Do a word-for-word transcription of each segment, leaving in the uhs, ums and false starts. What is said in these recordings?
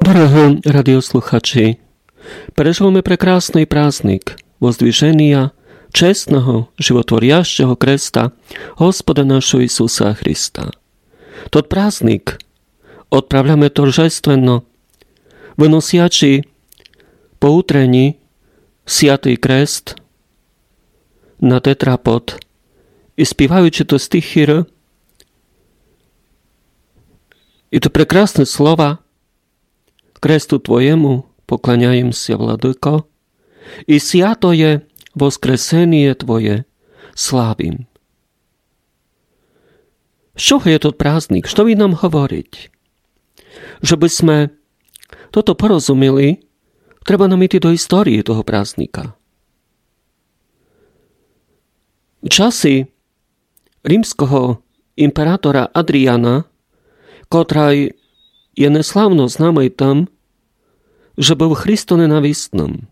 Дорогы радиослухачі, переживаме прекрасный праздник Воздвиженія честного, животворящого креста Господа нашого Ісуса Христа. Тот праздник отправляме торжественно, выносячи по утрени святый крест на тетрапод и співаючи то стихи, и то прекрасне слова: Кресту Твоєму покланяєм ся, Владыко, и святоє воскресеніє Твоє славим. З чого є тот праздник? Што він нам говорить? Жебы сьме тото порозуміли, треба нам іти до історії того праздника. В часы римского імператора Адріана, котрый є неславно знамый тым, же быв христоненависным,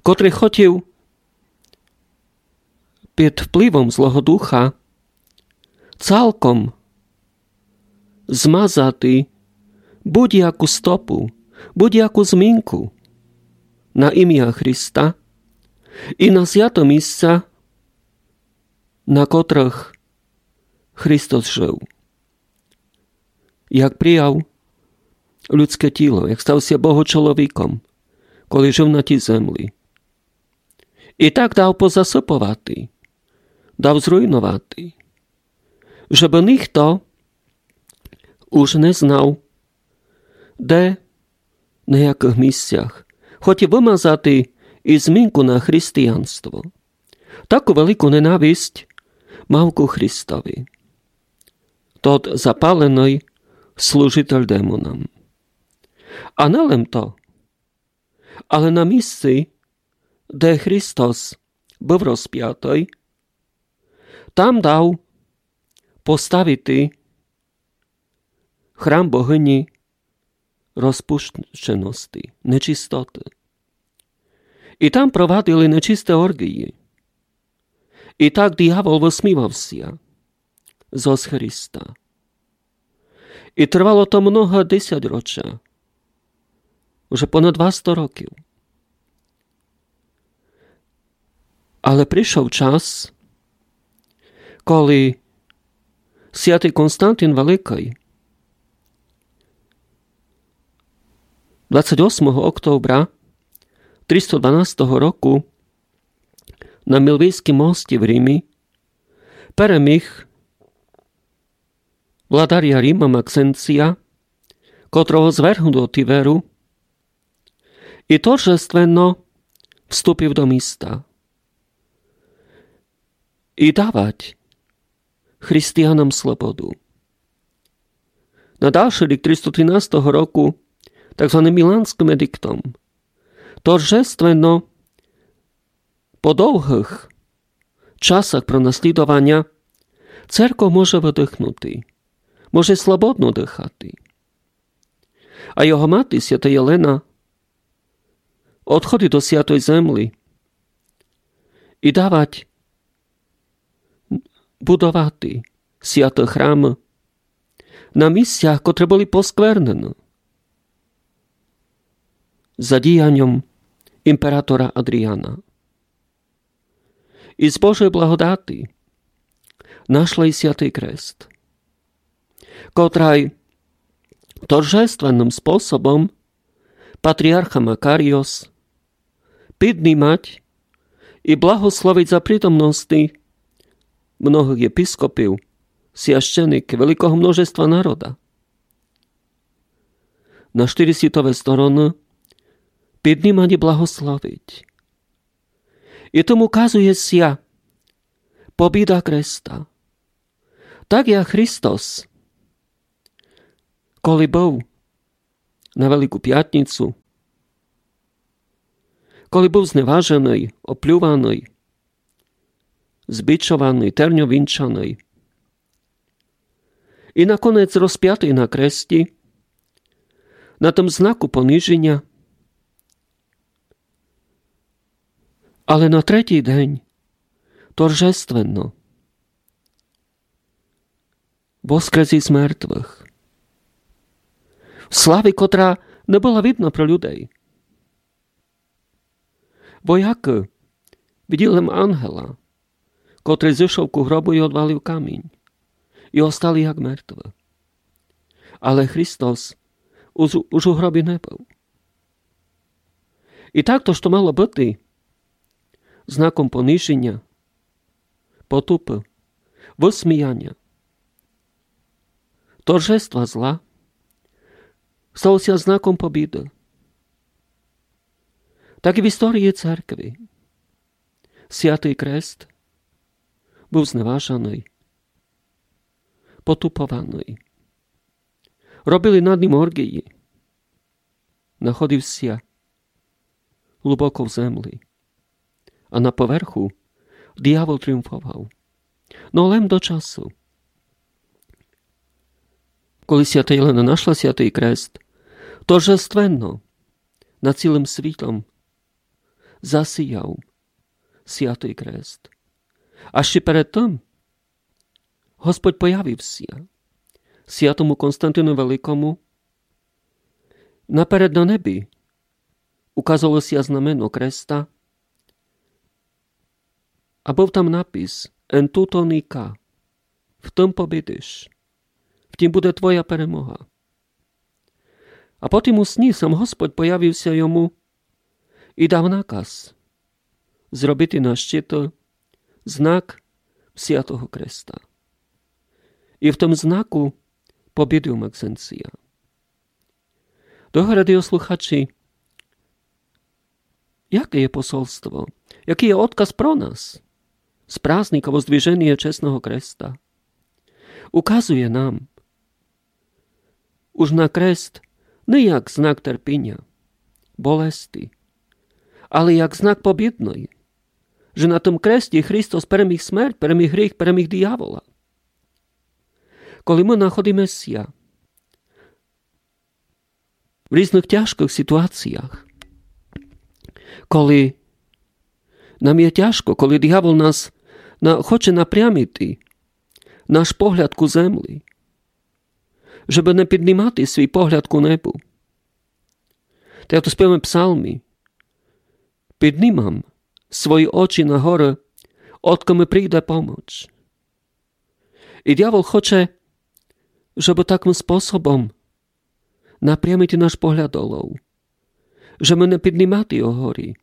котрый хотів під впливом Злого Духа цалком змазати будь-яку стопу, будь-яку змінку на імя Христа и на свято місця, на котрых Христос жив, як прияв людске тіло, як став ся Богочоловіком, коли жив на тій землі. И так дав позасыповати, дав зруйновати, жебы нихто уж не знав, де, на якых місцях. Хотів вымазати и змінку на християнство. Таку велику ненависть мав ку Христови тот запаленый служитель демонам. А не лем то, але на місци, де Христос быв розпятый, там дав поставити храм богині розпущености, нечистоты. И там провадили нечисте орґії. И так диявол высмівав ся зоз Христа. И тривало то много десятьроча, уже понад двасто років. Але пришов час, коли святый Константин Великый двадцять восьмого октября триста дванадцятого року на Мілвійскім мості в Римі переміг владаря Рима Максенція, котрого звергнув до Тіверу, и торжественно вступив до міста и давать християнам слободу. На дальшый рік триста тринадцятого року так званым Міланскым едиктом торжественно по довгых часах пронаслідованя церков може выдыхнути, може слободно дыхати. А його мати, свята Єлена, одходить до Святой Землі и давать будовати святы храмы на місцях, котры были посквернены за діяньом імператора Адріана. И з Божой благодати нашли и святый крест, котрый торжественным способом патріарха Макаріос піднімать и благословить за притомности многых єпископів, священиків, великого множества народа. На штыри світовы стороны піднімать и благословить. И тым указує ся побіда креста. Так як Христос, коли быв на Велику пятницю, коли быв зневаженый, оплюваный, збічованый, терньовінчаный и наконець розпятый на кресті, на тым знаку понижіня, але на третій день торжественно воскрес из мертвых. В славі, котра Не была видна про людей. Воякы виділи лем ангела, котрый зышов ку гробу і одвалив камінь, і остали як мертвы. Але Христос уж, уж у гробі не быв. І так то, што мало быти знаком понижіня, потупы, высміяня, торжества зла, стало ся знаком побіды. Так і в історії церкви. Святый крест быв зневажаный, потупованый. Робили над ним орґії. Находив ся глубоко в земли. А на поверху диявол тріумфовав. Но лем до часу. Коли свята Єлена нашла святый крест, торжественно над цілым світом засіяв святый крест. А ще перед тым Господь появив ся святому Константину Великому. Наперед на небі указало ся знамено креста, а быв там напис: «En tuto nica, в тым побідиш, в тім буде твоя перемога». А потім у сні сам Господь появив ся йому і дав наказ зробити на щиту знак святого креста. І в тым знаку побідив Максенція. Дорогы радіослухачі, яке є посольство, якый є одказ про нас з праздника Воздвиженя Чесного Креста? Указує нам уж на крест не як знак терпіня, болести, але як знак побідный, же на тым кресті Христос переміг смерть, переміг гріх, переміг диявола. Коли мы находиме ся в різных тяжкых ситуаціях, коли нам є тяжко, коли диявол нас на, хоче напрямити наш погляд ку земли, жебы не піднімати свій погляд ку небу. Та як то співаме в псалмі: «Піднімам свої очі на горы, одкы ми прийде помоч». І диявол хоче, жебы такым способом напрямити наш погляд долов, жебы не піднімати його горі,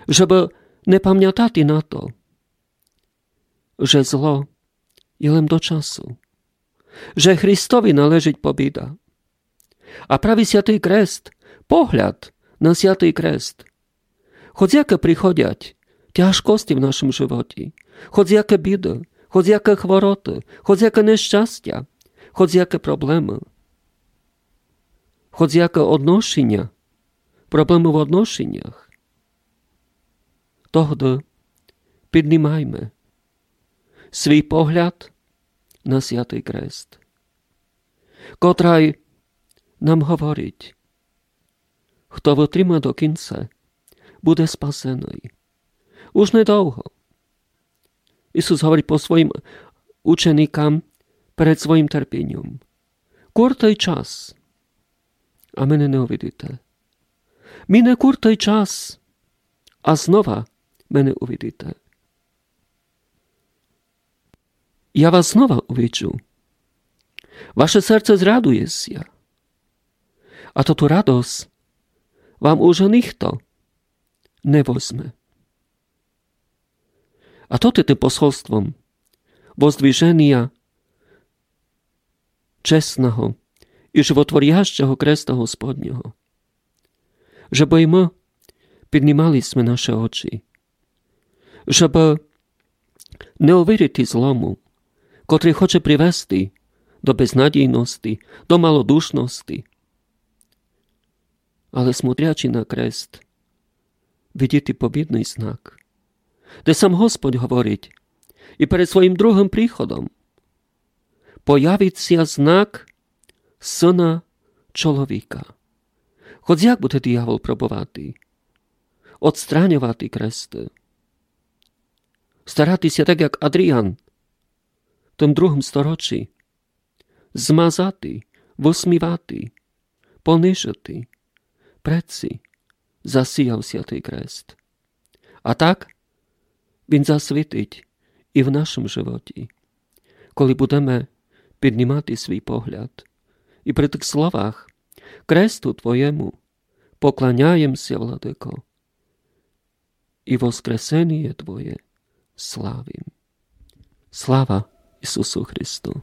жебы не памятати на то, же зло є лем до часу, же Христови належить побіда. А праві святый крест, погляд на святый крест, хоц якы приходять тяжкости в нашым животі, хоц якы біды, хоц якы хвороты, хоц якы нещастя, хоц якы проблемы, хоц якы одношіня, проблемы в одношінях, тогды піднімайме свій погляд на святый крест, котрай нам говорить: «Хто вытрима до кінця, буде спасеный». Уж недовго. Ісус говорить по своїм ученикам перед своїм терпіньом: «Куртый час, а мене не увидите. Мине куртый час, а знова мене увидите. Я вас знова увиджу. Ваше серце зрадує ся. А тоту радость вам уже ніхто не возьме». А то ти тым посольством воздвиженя чесного і животворящого креста Господнього, жебы і мы піднімали сьме наші очі, жебы не увірити злому, котрый хоче привести до безнадійности, до малодушности, але, смотрячи на крест, видіти побідный знак, де сам Господь говорить: «І перед своїм другым приходом появить ся знак Сына чоловіка». Хоц як буде диявол пробовати одстраньовати кресты, старати ся так, як Адріан в тым другым сторочі, змазати, высмівати, понижити, пред ци засіяв святый крест. А так він засвітить і в нашому животі, коли будеме піднімати свій погляд і при тых словах: «Кресту Твоєму покланяєм ся, Владыко, і воскресеніє Твоє славим». Слава Ісусу Христу!